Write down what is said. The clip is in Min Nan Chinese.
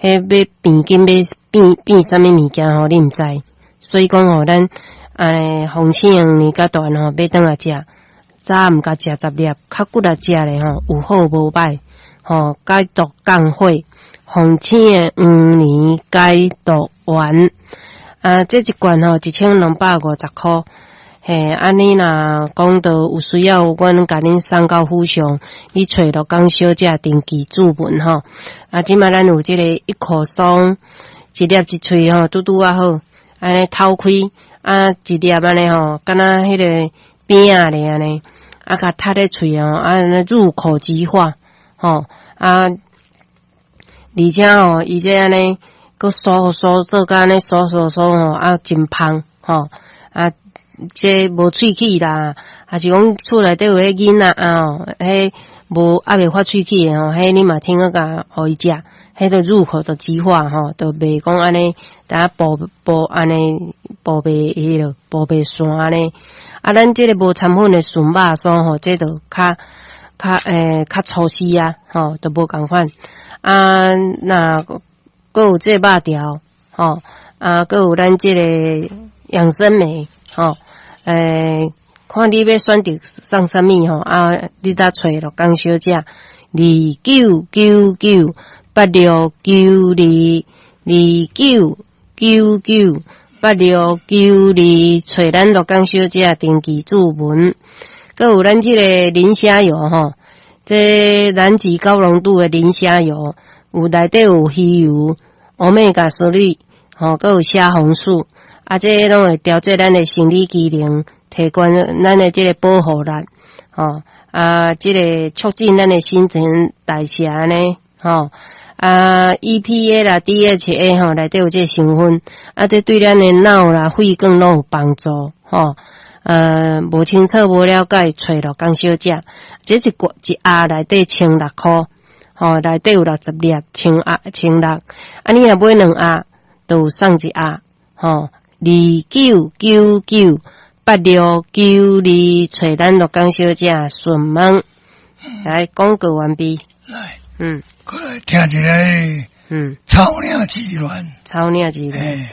彼欲變緊欲變變啥物物件吼，你毋知。所以講吼，咱按呢鳳翅黃連佮大吼，買轉來食，早暗共食十粒，較骨力食咧吼，有好無歹，吼，解毒降火，鳳翅黃連解毒丸。啊，這一罐吼，1250箍。嘿，按呢若講到有需要，阮共恁送到府上，你揣陸江小姐登記注文吼。啊，這擺咱有這個一口鬆，一粒一喙吼，拄拄仔好，按呢透開，啊，一粒按呢吼，敢若彼個餅仔咧按呢，啊，共啜咧喙吼，按呢入口即化，吼，啊，而且吼，伊這按呢，閣酥酥做甲按呢酥酥酥吼，啊，真芳吼，啊。這無喙齒啦，抑是講厝內底有彼囡仔啊，吼，彼無猶未發喙齒的吼，彼你嘛聽個共予伊食，彼就入口就即化吼，就袂講按呢，淡薄薄按呢薄袂彼落，薄袂散按呢。啊，咱這个無摻粉的純肉酥吼，這就較較欸較粗絲啊，吼，就無仝款。啊，若閣有這个肉條，吼，啊，閣有咱這个養生莓，吼。欸，看你欲選擇送啥物吼，啊，你搭揣陸江小姐，29998692，29998692，揣咱陸江小姐登記注文。閣有咱這个磷蝦油吼，這南極高濃度的磷蝦油，有內底有魚油、Omega 3，吼，閣有蝦紅素，啊，這攏會調節咱的生理機能。提懸咱的這个保護力，吼啊，這个促進咱的新陳代謝按呢，吼啊，EPA 啦、DHA 吼，內底有這个成分，啊，這對咱的腦啦、血管攏有幫助，吼。無清楚、無了解，揣陸江小姐，這是罐一盒內底1600箍，吼，內底有60粒，千盒千六，啊，你若買兩盒，就有送一盒，吼，29998692，揣咱陸江小姐順問，來廣告完畢。來，過來聽一个，草嶺之戀。草嶺之戀。